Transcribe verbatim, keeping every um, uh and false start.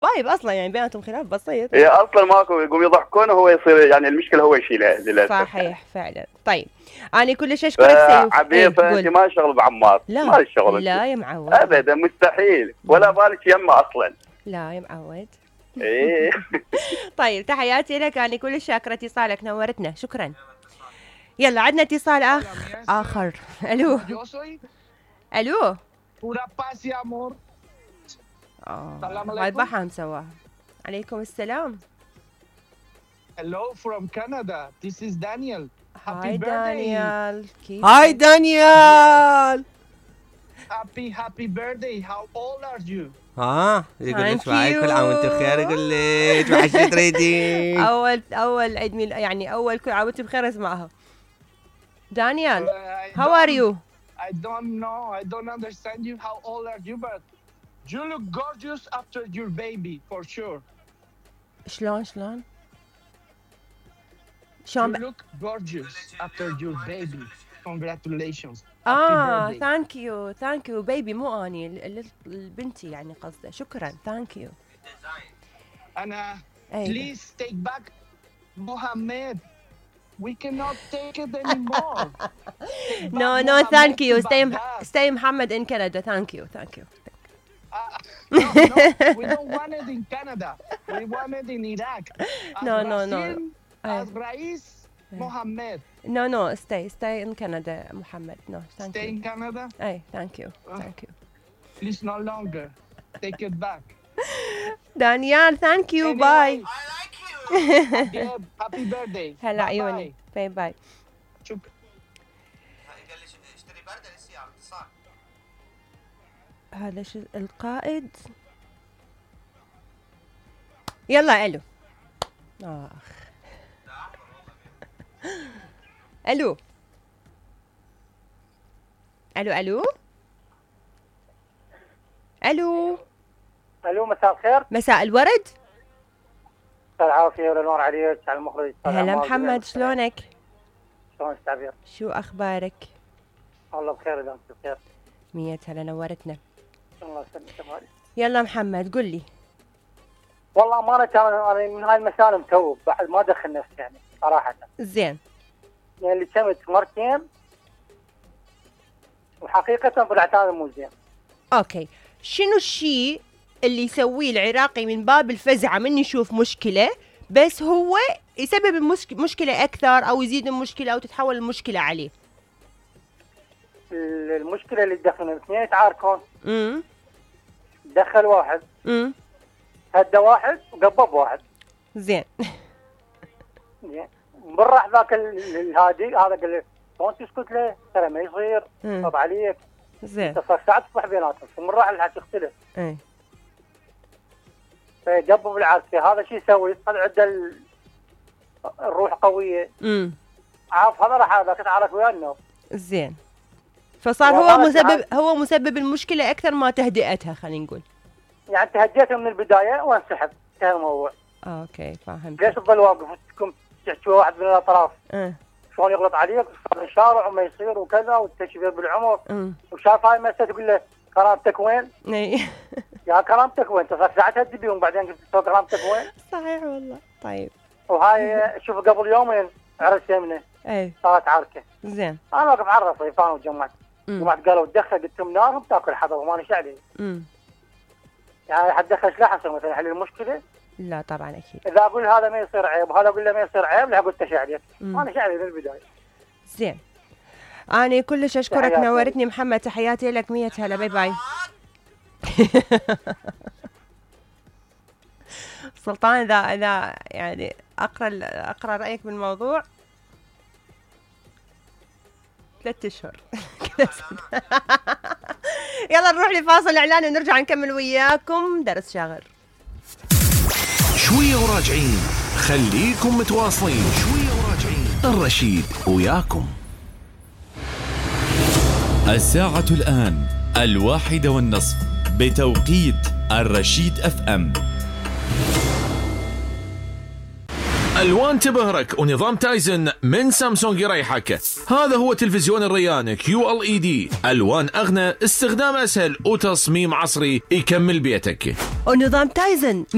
طيب اصلا يعني بيناتهم خلاف بسيط. هي اصلا ماكو، يقوم يضحكون وهو يصير يعني المشكله هو يشيلها للاسف. صحيح فعلا. طيب انا كلش اشكرك سيوف. عبيطه انت ما شغل بعمار. لا ما الشغل لا يا معود ابدا مستحيل، ولا بالك يمه اصلا. لا يا معود. ايه. طيب تحياتي لك، انا كلش شاكره اتصالك، نورتنا، شكرا. يلا عندنا اتصال اخ اخر. الو الو. هاي بحام سواها. عليكم السلام. Hello from Canada. This is Daniel. Happy birthday. كيف؟ هاي دانيال. Happy happy birthday. How old are you? ها يقول لك معي كل عام وانت بخير، يقول لك وحش تريدين. اول اول عيد ميلاد يعني اول كل عام وانت بخير اسمعها. دانيال how are you? I don't know. I don't understand you. How old are you? But you look gorgeous after your baby for sure. شلون شلون؟ شلون؟ You look gorgeous after your baby. Congratulations. اه ثانك يو ثانك يو بيبي، مو اني البنتي يعني قصده. شكرا ثانك يو. انا please take back Mohammed. We cannot take it anymore. No no thank you. Stay stay Mohammed in Canada. Thank you thank you. Uh, no, no, we don't want it in Canada. We want it in Iraq. As no no no. As Rais Mohammed. No no stay stay in Canada Mohammed. No thank stay you. in Canada. Hey thank you thank you. Please no longer. Take it back. Daniel thank you anyway, bye. I like you. Happy birthday. هلا عيوني. باي باي. شكرا. اشتري برده للسيارة اتصال. هذا شو القائد. يلا الو. اخ الو الو الو الو الو مساء الخير. مساء الورد. مساء العافيه والنور عليك على المخرج. هلا محمد شلونك؟ شلونك تعبير؟ شو اخبارك؟ والله بخير اذا انت بخير. مية هلا نورتنا. الله يسلمك. يلا محمد قل لي. والله امانه كان انا من هاي المسائل متوب بعد ما ادخل نفسي يعني صراحه. زين. يعني اللي كمت مرتين وحقيقه طلعت هذا مو زين. اوكي، شنو الشيء اللي يسويه العراقي من باب الفزعه من يشوف مشكله بس هو يسبب المشكله اكثر او يزيد المشكله او تتحول المشكله عليه؟ المشكله اللي تدخلون اثنين يتعاركون. امم دخل واحد. امم هدى واحد وقبض واحد. زين. زين. راح ذاك الهادي هذا قال له شلون تسكت له؟ ترى ما يصير طب عليك. زين. انت صار ساعه تصبح بيناتهم، ثم راح الحكي اختلف. اي. فيقبض العركه، هذا شو يسوي؟ هذا عنده الروح قويه. امم عارف هذا راح هذاك يتعارك ويا النوم. زين. فصار هو مسبب هو مسبب المشكله اكثر ما تهدئتها، خلينا نقول. يعني انت هديته من البدايه وانسحب، انتهى الموضوع. اوكي فهمت. ليش تظل واقف وتكون تحكي واحد من الاطراف؟ اه شلون يغلط عليك صار الشارع وما يصير وكذا والتشبيه بالعمر. امم وشاف هاي المسألة تقول له كرامتك وين؟ اي. يا كرامتك وين؟ انت ساعتها تدبيهم بعدين قلت له كرامتك وين؟ صحيح والله. طيب. وهاي شوف قبل يومين عرس يمنه. اي. صارت عركه. زين. انا واقف على الرصيف انا وجمعت. جمعت قالوا تدخل، قلت لهم نارهم تاكل حطب وما نش عليه. امم يعني حتدخل شلون حسن مثلا حل المشكله؟ لا طبعا اكيد. اذا اقول هذا ما يصير عيب وهذا اقول له ما يصير عيب، لا اقول تش عليك. ما نش عليه من البدايه. زين. أنا كلش أشكرك، نورتني محمد، تحياتي لك. مية هلا. باي باي. سلطان إذا إذا يعني أقرأ أقرأ رأيك بالموضوع ثلاثة أشهر. يلا نروح لفاصل إعلاني ونرجع نكمل وياكم درس شاغر. شوية وراجعين، خليكم متواصلين. شوية وراجعين، الرشيد وياكم. الساعة الآن الواحدة والنصف بتوقيت الرشيد اف ام. الوان تبهرك ونظام تايزن من سامسونج يريحك. هذا هو تلفزيون الريان كيو ال اي دي، الوان اغنى، استخدام اسهل وتصميم عصري يكمل بيتك. ونظام تايزن